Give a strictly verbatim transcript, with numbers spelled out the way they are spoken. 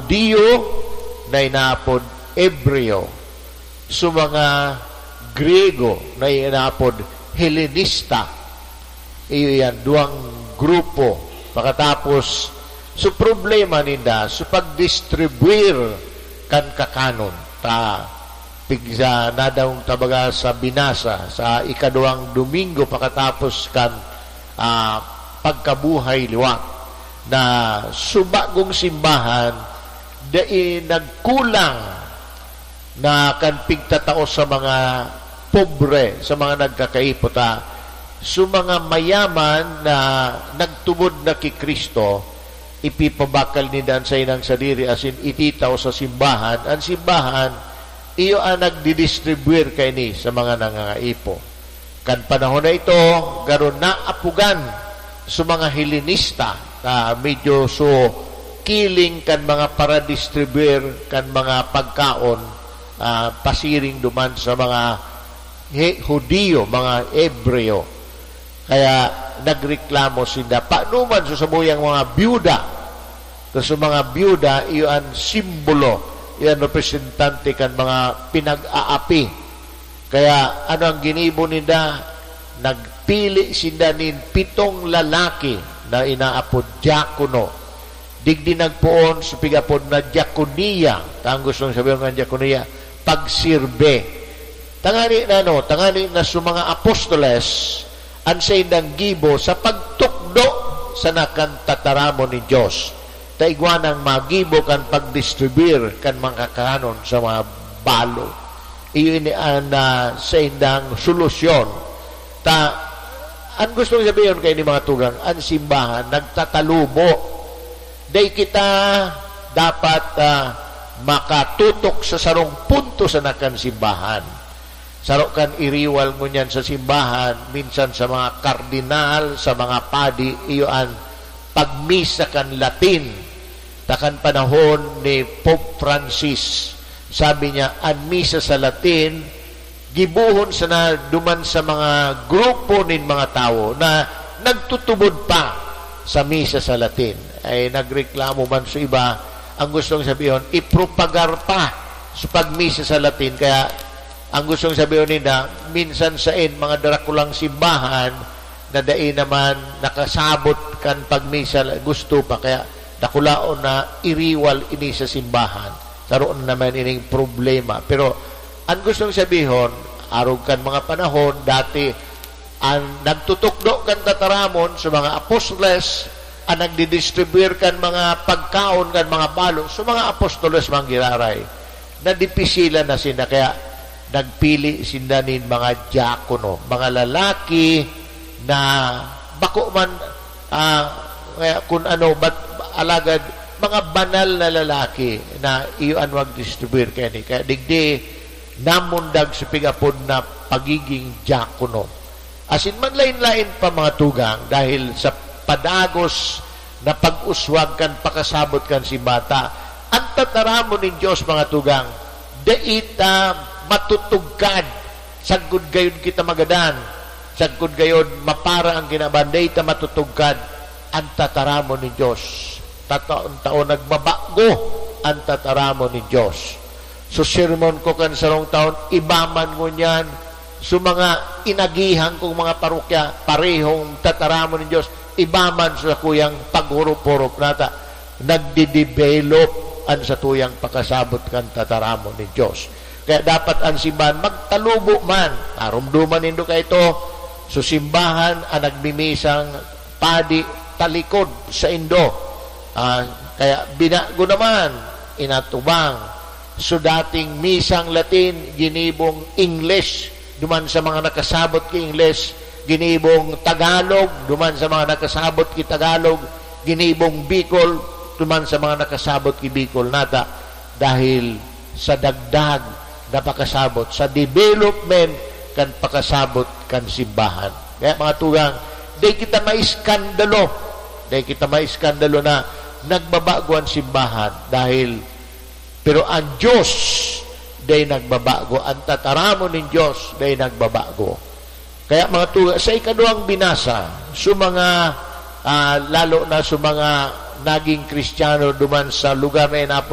Judio na inaapod Hebreo, sa mga Griego na inaapod Helenista. Iyo yan, duwang grupo. Pakatapos, so problema ninda, so pagdistribuir kan kakanon. Ta, pigsa, nadangog ta baga sa binasa, sa ikaduwang Domingo pakatapos kan, ah, pagkabuhay liwat, na so bagong simbahan, dai nagkulang na kan pigtatao sa mga pobre, sa mga nagkakaipot, ha. So, mga mayaman na nagtubod na ki Cristo, ipipabakal ninda an saindang sadiri asin ititao sa simbahan. An simbahan, iyo an nagdidistribuir kaini sa mga nangangaipo. Kan panahon na ito, garo naapogan sa mga Helenista, ah, medyo so kiling kan mga paradistribuir kan mga pagkaon, ah, pasiring duman sa mga He-, Judio, mga Hebreo. Kaya nagreklamo sinda. Paano man sa samuyang mga byuda? Kasi mga byuda, iyo an simbolo, iyo an representante kan mga pinag-aapi. Kaya ano ang ginibo ninda? Nagpili sinda nin pitong lalaki na inaapod diakono. Digdi nagpoon sa pig-apod na diakonia. Ta ang gustong sabihin ng diakonia, pagsirbe. Tangani na, no? Tangani na sa mga apostoles, ang saindang gibo sa pagtukdo sa nakan tataramon ni Dios. Ta igwa nang magibo kan pagdistribuir kan mga kakanon sa mga balo. Iyo ini an, ah, saindang solusyon. Ta, ang gustong sabihon kaini, mga tugang, ang simbahan nagtatalubo. Dai kita dapat, ah, makatutok sa sarong punto sa nakan simbahan. Saro kan iriwal ngunyan sa simbahan, minsan sa mga kardinal, sa mga padi, iyo an pagmisa kan Latin. Ta kan panahon ni Pope Francis, sabi niya, an misa sa Latin, gibohon sana duman sa mga grupo nin mga tawo na nagtutubod pa sa misa sa Latin. Ay, nagreklamo man sa iba, ang gustong sabihon, ipropagar pa sa pagmisa sa Latin. Kaya, ang gustong sabihon ninda, minsan sain mga drakulang simbahan na dai naman nakasabot kan pagmisa, gusto pa. Kaya, dakulaon na iriwal ini sa simbahan. Saro na naman ining problema. Pero, ang gustong sabihon, arog kan mga panahon, dati, an nagtutukdo kan tataramon sa mga apostoles, an nagdidistribuir kan mga pagkaon kan mga balo sa mga apostoles man giraray. Nadipisilan na sinda, kaya nagpili sinda nin mga diakono, mga lalaki na bako man, ah, kaya kun ano, bat-, alagad mga banal na lalaki na iyo an magdistribuir kaini. Kaya digdi namundag sa pig-apod na pagiging diakono. Asin manlaen-laen pa, mga tugang, dahil sa padagos na pag-uswag kan pakasabot kan simbahan. An tataramon nin Dios, mga tugang, dai ta matutugkad, sagkod gayod kita magadan, sagkod gayod mapara ang kinaban, dai ta matutugkad an tataramon nin Dios. Tataon-taon nagbabago an tataramon nin Dios. So, sermon ko kan sarong taon, iba man ngunyan. So, mga inagihan kong mga parokya, parehong tataramon nin Dios, iba man sa kuyang paghurup-hurup nata. Nagdidevelop an satuyang pakasabot kan tataramon nin Dios. Kaya dapat an simbahan magtalubo man. Narumduman nindo kaito, so simbahan an nagmimisang padi talikod saindo. Ah, kaya binago naman, inatubang. So, dating misang Latin, ginibong English, duman sa mga nakasabot ki English, ginibong Tagalog, duman sa mga nakasabot ki Tagalog, ginibong Bicol, duman sa mga nakasabot ki Bicol nata. Dahil sa dagdag na pakasabot, sa development kan pakasabot kan simbahan. Kaya, mga tugang, dai kita maiskandalo. Dai kita maiskandalo na nagbabago an simbahan dahil, pero an Dios dai nagbabago. An tataramon nin Dios dai nagbabago. Kaya, mga tugang, sa ikaduwang binasa, sa mga, ah, lalo na sa mga naging Kristiyano duman sa lugar na inaapod